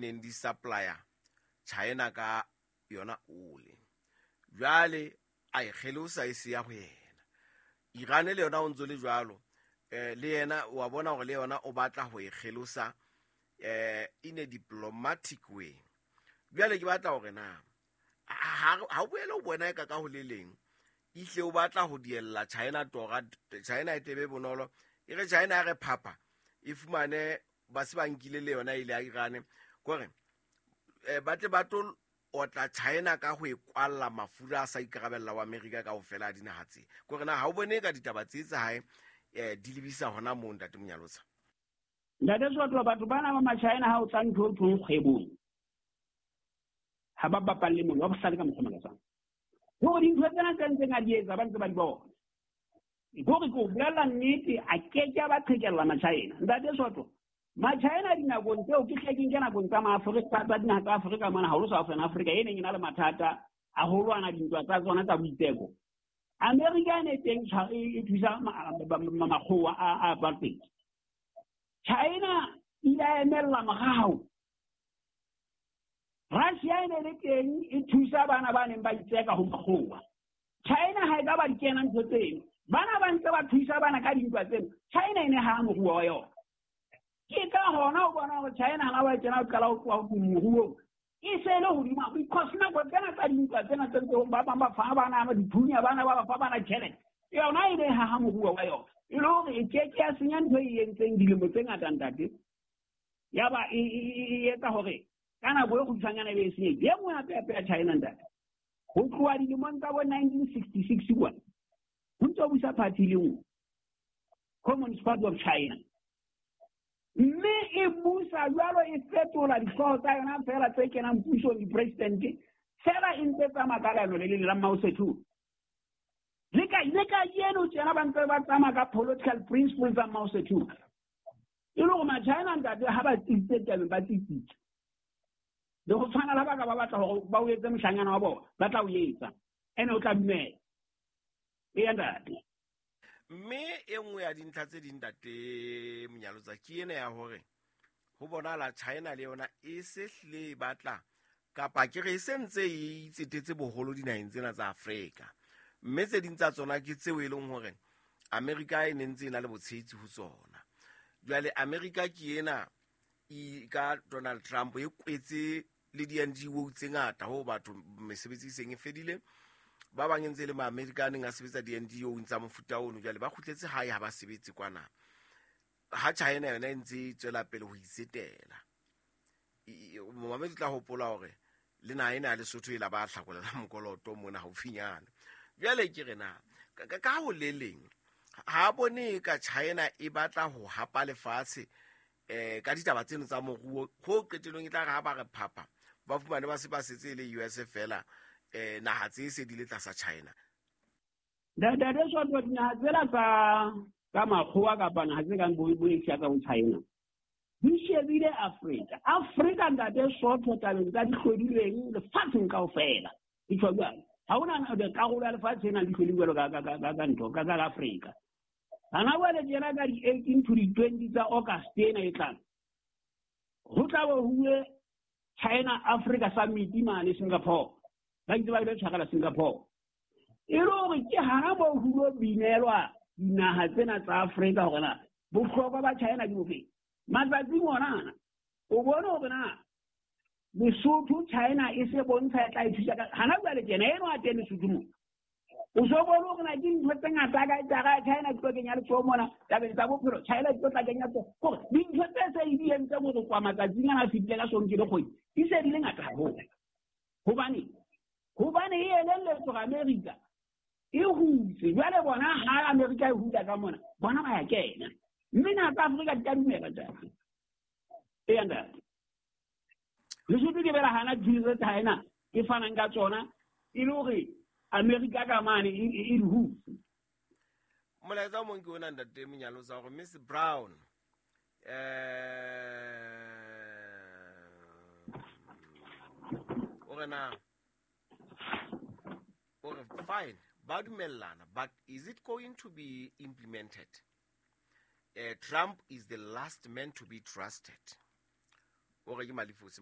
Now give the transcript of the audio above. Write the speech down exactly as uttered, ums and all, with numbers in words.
neng di supplya China ka yona ole. Jwale a e kgelosa e se ya ho yena. Iran le yona o ntso le jwalo, eh le yena wa bona hore le yona o batla ho e kgelosa eh in a diplomatic way. Jwale ke batla hore na ha ha o boele o bona e ka ka ho le leng ihle o batla ho diella China tora, China e tebe bonolo e re China ya re phapha e fumane ba se ba nkile le yona ile ya Iran kore eh ba tle ba tlo otla China ka ho e kwalla mafura a sa ikarabella wa America kaofela a dinaha tse. Kore na ha o bone ka ditaba tse tsa hae eh di lebisa hona moo, ntate Monyalotsa? Ntate Soto, batho bana ba Machina ha o tla ntho o thong kgwebong ha ba bapalle mollo, ba bohlale ka mokgwa o makatsang. Hore dintho tsena tse ntseng a di etsa ba ntse ba di bona. Hore ke o bolella nnete, a ke ke a ba qhekella Machina. Ntate Soto, Machina dinakong tseo ke hle ke nke nakong tsa Maafrika, tsa dinaha tsa Afrika mona, haholo Southern Africa e neng e na le mathata a ho lwana dintwa tsa tsona tsa boitseko. Amerika e ne teng e e thusa makgowa a apartheid. China ile a emella morao. Russia e ne le teng e thusa bana ba neng ba itseka ho makgowa. China ha e ka ba di kena ntho tseno. Bana ba ntse ba thusa bana ka dintwa tseno. China e ne ha moruo wa yona. Ke ka hona o bona hore China ha ba kena o qala ho tloha ho moruong. E se le hodima because nako tsena tsa dintwa tsena tse ntse ba bang ba fa bana ba dithunya bana ba ba fa bana tjhelete. Yona e ne ha ha moruo wa yona. E le hore e ke ke ya senya ntho e entseng dilemo tse ngata ntate. Ya ba e e etsa hore ka nako e kgutshwanyana e be e senyehile. E nngwe hape hape ya China ntate. Ho tloha dilemong tsa bo nineteen sixty-six kwana, ho ntso busa party le nngwe, Communist Party of China. Mme e busa jwalo e fetola dihlooho tsa yona feela tse kenang pusong di-president, feela e ntse tsamaya ka leano le leng la Mao Zedong. Le ka le kajeno tjena ba ntse ba tsamaya ka political principles tsa Mao Zedong. E le hore Machina ntate ha ba tsitsitse tabeng ba tsitsitse. Le ho tshwana le ba ka ba batla hore ba o etse moshanyana wa bona, ba tla o etsa. Ene o tla dumela. Eya ntate. Mme e nngwe ya dintlha tse ding ntate Monyalotsa ke ena ya hore ho bonahala China le yona e se hlile e batla kapa ke re e se ntse e itsetetse boholo dinaheng tsena tsa Afrika. Mme tse ding tsa tsona ke tseo e leng hore Amerika e ne ntse e na le botshehetsi ho tsona. Jwale Amerika ke ena e ka Donald Trump e kwetse le di-N G O tse ngata ho batho mesebetsi e seng e fedile. Ba bang ntse le ma-Amerika a neng a sebetsa di-N G O tsa mofuta ono, jwale ba kgutletse hae ha ba sebetse kwana. Ha China yona e ntse e tswela pele ho itsetela. Momamedi o tla hopola hore le naha ena ya Lesotho e la ba hlakolela mokoloto mona haufinyana. Jwale ke re na, ka, ka, ka ho le leng, ha bone ka China e batla ho hapa lefatshe eh ka ditaba tseno tsa moruo, ho qetellong e tla re ha ba re phapha, ba fumane ba se ba setse e le U S fela, eh naha tse se di le tlasa China. Ntate Soto, dinaha tsela tsa ka makgowa kapa naha tse kang bo bo Asia ka bo China di shebile Afrika. Afrika ntate Soto tabeng tsa dihlodilweng lefatsheng kaofela. Di tjho jwalo. Ha hona karolo ya lefatshe e nang le dihlodilweng jwalo ka, ka, ka, ka, ka ntho, ka, ka Afrika. Hana jwale tjena ka di eighteen to di twenty tsa August ena e tlang, ho tla bo huwe China Africa Summit mane Singapore. Ba itse ba ile tshwarela Singapore. E le hore ke hana moo ho lo binelwa dinaha tsena tsa Afrika hore na bohlokwa ba China ke bofe. Matsatsing ona ana, o bone hore na Lesotho China e se bontsha e tla e thusa ka hana jwale tjena eno a teng Lesotho mo. O so bone hore na ke dintho tse ngata ka tsa China di tlo kenya letsoho mona tabeng tsa bophelo, China di tlo tla kenya letsoho. Hore dintho tse se e di entseng hore kwa matsatsing ana a fetileng ka sonke le kgwedi di se di le ngata haholo. Hobane hobane e elelletswe hore Amerika e hutse. Jwale bona ha Amerika e hula ka mona, bona ba ya kena. Mme naha tsa Afrika di ka dumela ntate. Eya ntate. Lesotho ke bela hana dithuso tsa China e fanang ka tsona e le hore Amerika ka mane e, e, e di hutse. Molaetsa o mong ke ona ntate Monyalotsa hore Miss Brown eh o re na o re fine ba dumellana, but is it going to be implemented? Uh, Trump is the last man to be trusted. O re ke Malifosi.